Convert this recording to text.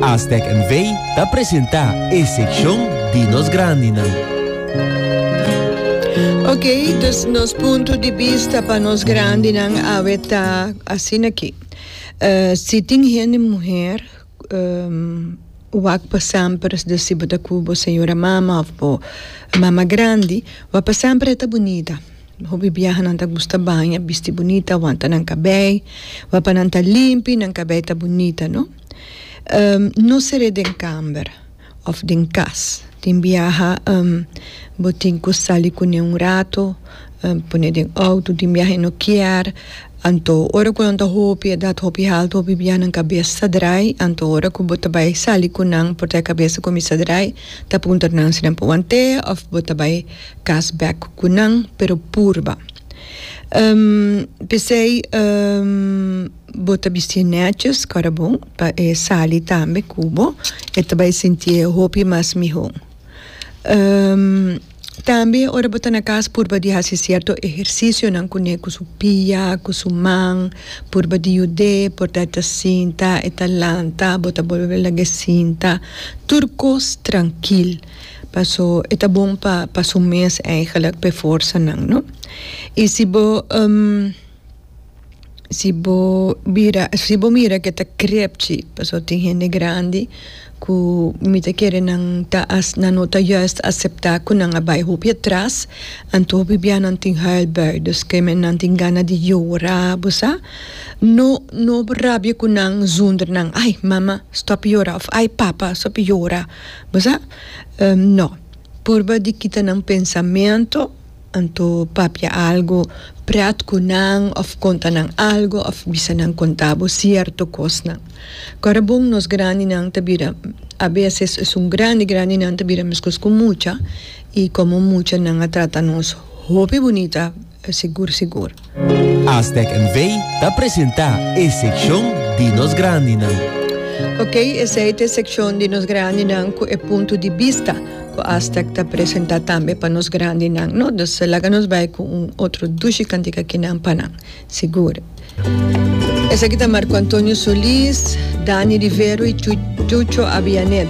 Aztec NV ta presenta e seccion di nos grandinan. Ok, dus nos punto di bista pa nos grandinan awe ta asina aki. Si tin hende muher wak pa semper, dus si bo ta ku bo señora mama of bo mama grandi, wak pa semper e ta bunita. Hopi biaha nan ta gusta baña, bisti bunita, wanta nan kabei, wak pa nan ta limpi, nan kabei ta bunita, no? No ser'é den kamber. Of den kas. Tin biaha bo tin ku sali kuné un rato, pone den outo, tin biaha e no kier. Anto ora ku nan ta hopi edat hopi haltu, hopi biaha nan kabes ta drai, anto ora ku bo ta bai sali ku nan por ta e kabes ta kuminsá drai, ta puntra nan si nan por want'é òf bo ta bai kas bèk ku nan, pero purba. P'esei. Bo ta bistié nètjes, kòrda bon, pa e sali tambe ku bo, e ta bai sintié hopi mas mihó. Tambe ora bo ta na kas purba di hasi sierto ehersisionan kuné ku su pia, ku su man, purba di yud'é, por ta e ta sinta, e ta lanta, bo ta bolbe lag'é sinta, tur kos trankil, paso e ta bon pa pa su mes eigenlijk pa e forsanan, no. I si bo. Si bo bira si bo mira ke ta krepchi pasobra tin hende grandi ku mi ta kere nan ta nan no ta juist aseptá ku nan a bai hopi atras anto hopi bia nan tin huilbui dus ke men nan tin gana di yora bo sa no no rabia ku nan zonder nan ai mama stòp yora òf ai papa stòp yora bo sa no purba di kita nan pensamentu. Anto papia algo pret ku nan òf konta nan algo òf bisa nan konta bo sierto kosnan. Kòrda bon nos grandinan ta bira a beses esun grandi grandinan ta bira meskos ku mucha i komo mucha nan a trata nos hopi bunita sigur sigur. Aztec NV ta presenta e sekshon di nos grandinan. Ok, esei ta e sekshon di nos grandinan ku e punto di bista ku Aztec ta presenta tambe pa nos grandinan, no? Dus laga nos bai ku un otro dushi kantika kinan pa nan, sigur. Esaki ta Marco Antonio Solis, Dani Rivero i Chucho Avianet.